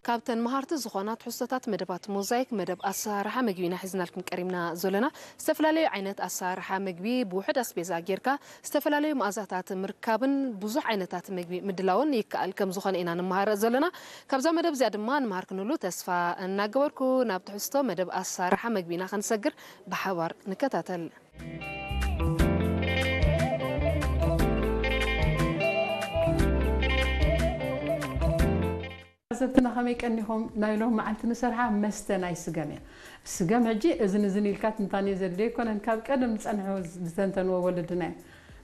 ካብተን መሃርቲ ዝኾና ትሕዝቶታት መደባት ሞዛይክ፣ መደብ ኣሰራርሓ መግቢ ኢና ሒዝናልኩም ቀሪብና ዘለና። ዝተፈላለዩ ዓይነት ኣሰራርሓ መግቢ ብውሑድ ኣስቤዛ ጌርካ ዝተፈላለዩ መኣዛታት ምርካብን ብዙሕ ዓይነታት መግቢ ምድላውን ይከኣል ከም ዝኾነ ኢና ንመሃር ዘለና። ካብዛ መደብ እዚኣ ድማ ንመሃር ክንህሉ ተስፋ እናገበርኩ ናብ ትሕዝቶ መደብ ኣሰራርሓ መግቢ ኢና ክንሰግር ብሓባር ንከታተል። ተዓዘብትና ከመይ ቀኒኹም? ናይ ሎም መዓልቲ ንሰርሓ መስተ ናይ ስገም እያ። ስገም ሕጂ እዝን እዝን ኢልካ ትንታኔ ዘድልዮ ኣይኮነን። ካብ ቀደም ዝጸንሑ ዝተንተንዎ ወለድና እዮም።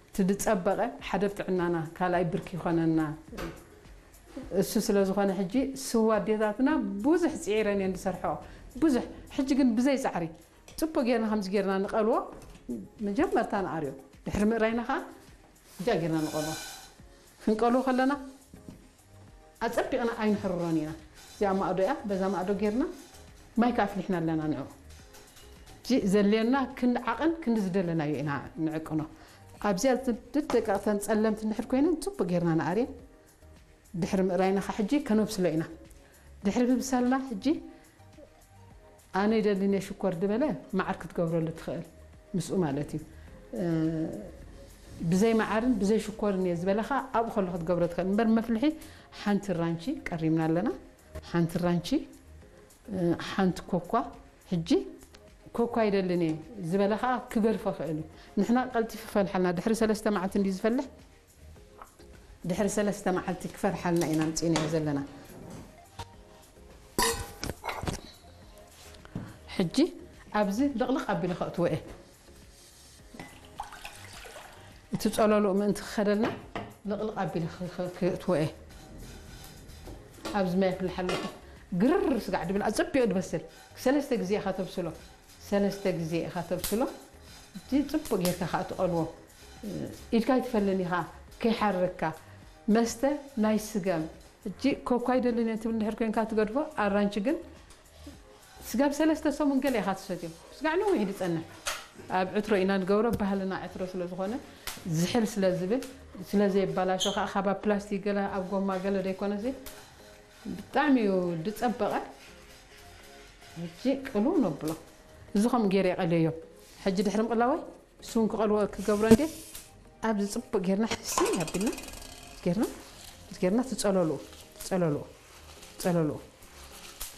እቲ ዝጸበቐ ሓደ ኣብ ጥዕናና፣ ካልኣይ ብርኪ ይኾነና። እሱ ስለ ዝኾነ ሕጂ ስዋ ኣዴታትና ብዙሕ ጽዒረን እየን ዝሰርሕኦ። ብዙሕ። ሕጂ ግን ብዘይ ጻዕሪ ጽቡቕ ጌርና ከምዚ ጌርና ንቐልዎ። መጀመርታ ንኣርዮ። ድሕሪ ምእራይና ኸዓ እዚኣ ጌርና ንቐልዎ። ክንቀልዎ ከለና ኣጸቢቕና ኣይንሕርሮን ኢና። እዚኣ ማእዶ እያ፣ በዛ ማእዶ ጌርና ማይ ከኣ ኣፍሊሕና ኣለና ንዕኡ። እዚ ዘድልየና ክንዲ ዓቐን ክንዲ ዝደለናዮ ኢና ንዕቅኖ። ኣብዚኣ ደቂቕተን ጸለምቲ እንድሕር ኮይነን ጽቡቕ ጌርና ንኣርየን። ድሕሪ ምእራይና ኸዓ ሕጂ ከነብስሎ ኢና። ድሕሪ ምብሳልና ሕጂ ኣነ ይደልን እየ ሽኮር ዝበለ መዓር ክትገብረሉ ትኽእል ምስኡ ማለት እዩ። ብዘይ መዓርን ብዘይ ሽኮርን እየ ዝበለ ኸዓ ኣብኡ ከሎ ክትገብሮ ትኽእል። እምበር መፍልሒ ሓንቲ ራንቺ ቀሪብና ኣለና። ሓንቲ ራንቺ፣ ሓንቲ ኮኳ። ሕጂ ኮኳ ይደልን እየ ዝበለ ኸዓ ክገድፎ ይኽእል እዩ። ንሕና ቀልጢፉ ይፈልሓልና። ድሕሪ ሰለስተ መዓልቲ እንድዩ ዝፈልሕ። ድሕሪ ሰለስተ መዓልቲ ክፈልሓልና ኢና ኣምጺእናዮ ዘለና። ሕጂ ኣብዚ ልቕልቕ ኣቢለ ከእትዎ እየ። እቲ ጸለልኡ ምእንቲ ክኸደልና ልቕልቕ ኣቢለ ክ-፣ ክ-፣ ክእትዎ እየ። ኣብዚ ማይ ኣፍልሕ ኣለኹ። ግርር ስጋዕ ድብል፣ ኣጸቢቑ ድበስል። ሰለስተ ግዜ ኢኻ ተብስሎ። ሰለስተ ግዜ ኢኻ ተብስሎ። እቲ ጽቡቕ ጌርካ ከኣ ትቐልዎ። ኢድካ ኣይትፈልን ኢኻ፣ ከይሓርረካ። መስተ ናይ ስገም። ሕጂ ኮኳ ኣይደልን እየ ትብል እንድሕር ኮይንካ ትገድፎ፣ ኣራንቺ ግን ስጋብ ሰለስተ ሰሙን ገለ ኢኻ ትሰትዮ። ስጋዕ ነዊሕ ድጸንሕ። ኣብ ዕትሮ ኢና ንገብሮ፣ ባህልና ዕትሮ ስለ ዝኾነ፣ ዝሕል ስለ ዝብል፣ ስለ ዘየባላሾ ከኣ ካብ ኣብ ፕላስቲክ ገለ ኣብ ጎማ ገለ ደይኮነሲ፣ ብጣዕሚ እዩ ድጸበቐ። ሕጂ ቅልው ነብሎ። እዚ ከምኡ ገይረ የቐልዮ። ሕጂ ድሕሪ ምቕላወይ፣ እሱ እውን ክቐልዎ ክገብሮ እንዴ፣ ኣብዚ ጽቡቕ ጌርና ሕስይ ኣቢልና ጌርና፣ ጌርና ትጸለልኡ፣ ትጸለልኡ፣ ትጸለልኡ።